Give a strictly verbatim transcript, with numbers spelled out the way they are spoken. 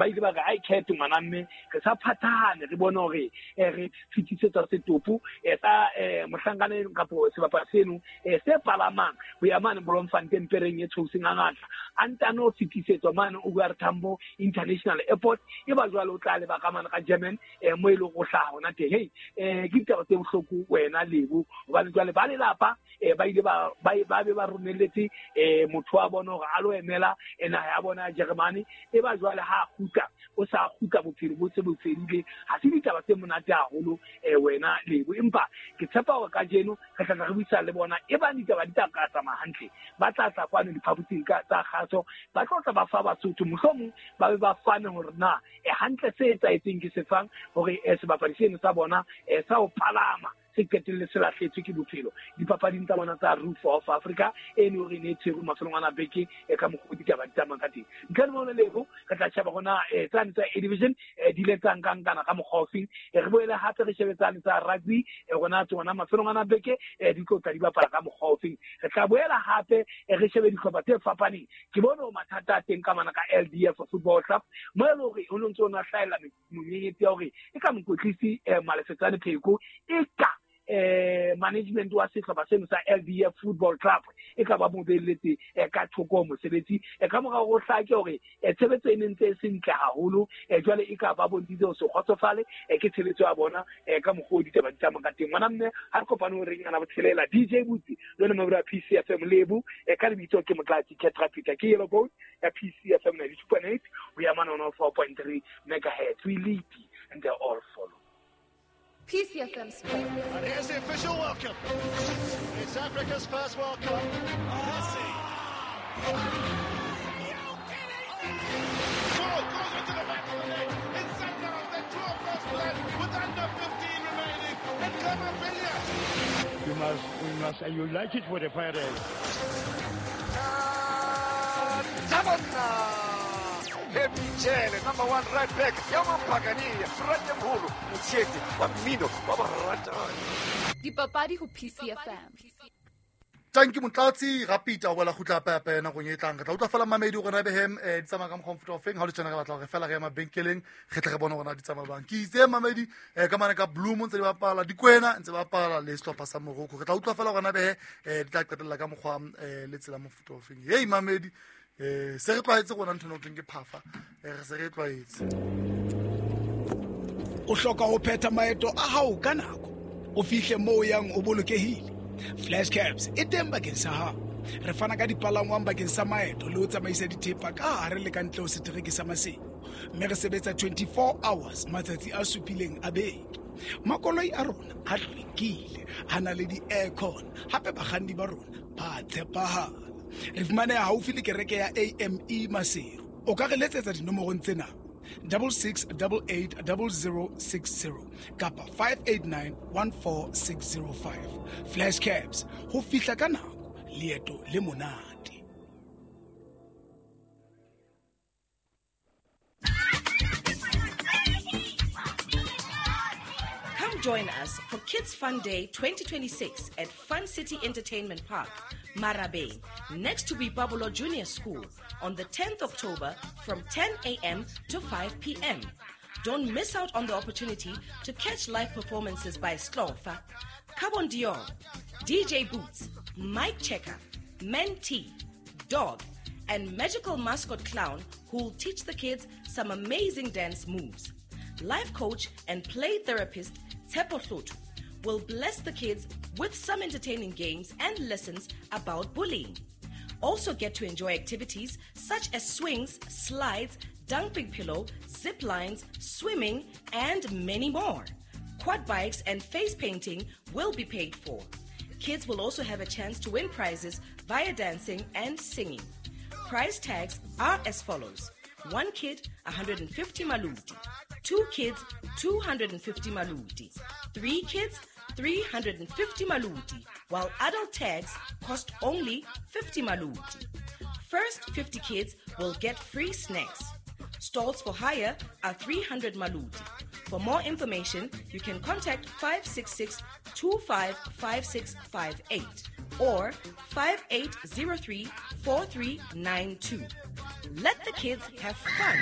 Ba ile ba re ai khetho ngwana mme re sa phathahane re bone hore re fitisetsa setopo sa mohlankana kapo sebapadi seno se palamang ho ya mane Bloemfontein pereng e tshoseng a ngata a ntano fitisetswa mane O R Tambo International Airport e ba jwale o tla leba ka mane ka German mo e leng go hlaha hona teng. Hey, ke ditaba tse bohloko wena Lebo hobane jwale ba lelapa ba ile ba ba be ba romelletse motho wa bona hore a lo emela naha ya bona ya Germany e ba jwale ha kgutla o sa kgutla bophelo bo se bo fedile. Ha se ditaba tse monate haholo wena Lebo, empa ke tshepa hore kajeno re tla re buisana le bona e ba ditaba di tla ka tsamaya hantle, ba tla tla kwano diphaposing tsa kgaso, ba tlo tla ba fa Basotho mohlomong ba be ba fane hore na e hantle se etsahetseng ke sefang hore sebapadi seno sa bona sa ho palama se qetelle se lahletswe ke bophelo dipapading tsa bona tsa Roof of Africa e ne hore ne tshwerwe mafelong ana beke e ka mokgwa ditaba di tsamayang ka teng. Ntle le mona Lebo re tla sheba hona tsane tsa A Division di ile tsa nkankana ka mokgwa ofeng, re boele hape re shebe tsane tsa rugby rona tsona mafelong ana beke di tlo tla di bapala ka mokgwa ofeng. Re tla boela hape re shebe dihlopha tse fapaneng. Ke bone hore mathata a teng ka mana ka L D F Football Club mo e leng hore ho no ntse ho na hlahella monyenyetsi ya hore e ka mokwetlisi Malefetsane Pheko e ka eh management wa sehlopha seno sa L D F Football Club e ka ba mo beletse ka thoko mosebetsi ka mora ho hlake hore tshebetso e ne ntse e se ntle haholo jwale e ka ba bontshitse ho se kgotsofale ke tshebetso ya bona ka mokgwa o ditaba di tsamayang ka teng. Ngwana mme ha re kopane ho reng ana botshelela D J Butsi le yona mabura P C F M Lebo ka lebitso ke Motlatsi Ketra Peter ke Yellow Bone ya P C F M ninety-two point eight ho ya mane one oh four point three megahertz. We lead and they all follow. P C F M Sports. And here's the official welcome. It's Africa's first World Cup. Messi. Goal goes into the back of the net. It's Sundowns that draw first blood with under fifteen remaining. And Kamabilia. You must, we must, and you like it with the Pirates. Michele, number one right back, Yamampagani, Ratemholo, Motshete, wa mmino, wa baratani. Dipapadi ho P C F M. Thank you Motlatsi, rapita wela khutla pepe nakong e tlang. Re tla utlwa fela mamedi gore na behem di tsamaya ka mokgwa mofuta ofeng. Ha o le tjena re batla hore fela re ya mabenkeleng re tle re bone hore na di tsamaya bang. Ke itse mamedi ka mane ka Bloem ntse di bapala Dikwena ntse bapala le sehlopha sa Morocco. Re tla utlwa fela hore na behe di tla qetella ka mokgwa le tsela mofuta ofeng. Hey mamedi, eh se re tlwaetse rona ntho eno ke phafa, re se re tlwaetse. O hloka ho phetha maeto a hao ka nako, o fihle moo yang o bolokehile. Flash Cabs e teng bakeng sa hao. Re fana ka dipalangwang bakeng sa maeto le ho tsamaisa dithepa ka hare le ka ntle ho setereke sa Maseru, mme re sebetsa twenty-four hours matsatsi a supileng a beke. Makoloi a rona a hlwekile, a na le di-aircon, hape bakganni ba rona ba tshepahala. Re fumaneha haufi le kereke ya A M E Maseru. O ka re letsetsa dinomorong tsena double six double eight double zero six zero kapa five eight nine one four six zero five. Flash Cabs, ho fihla ka nako, leeto le monate. Come join us for Kids Fun Day twenty twenty-six at Fun City Entertainment Park, Marabeng, next to Bibabolo Junior School on the tenth of October from ten a.m. to five p.m. Don't miss out on the opportunity to catch live performances by Slofa, Carbon Dior, D J Boots, Mike Checker, Mentee, Dog, and magical mascot clown who'll teach the kids some amazing dance moves. Life coach and play therapist Tshepo Hloto will bless the kids with some entertaining games and lessons about bullying. Also get to enjoy activities such as swings, slides, dumping pillow, zip lines, swimming, and many more. Quad bikes and face painting will be paid for. Kids will also have a chance to win prizes via dancing and singing. Prize tags are as follows. One kid, one hundred fifty maluti. Two kids, two hundred fifty maluti. Three kids, three hundred fifty maluti, while adult tags cost only fifty maluti. First fifty kids will get free snacks. Stalls for hire are three hundred maluti. For more information, you can contact five six six, two five five six five eight or five eight zero three, four three nine two. Let the kids have fun.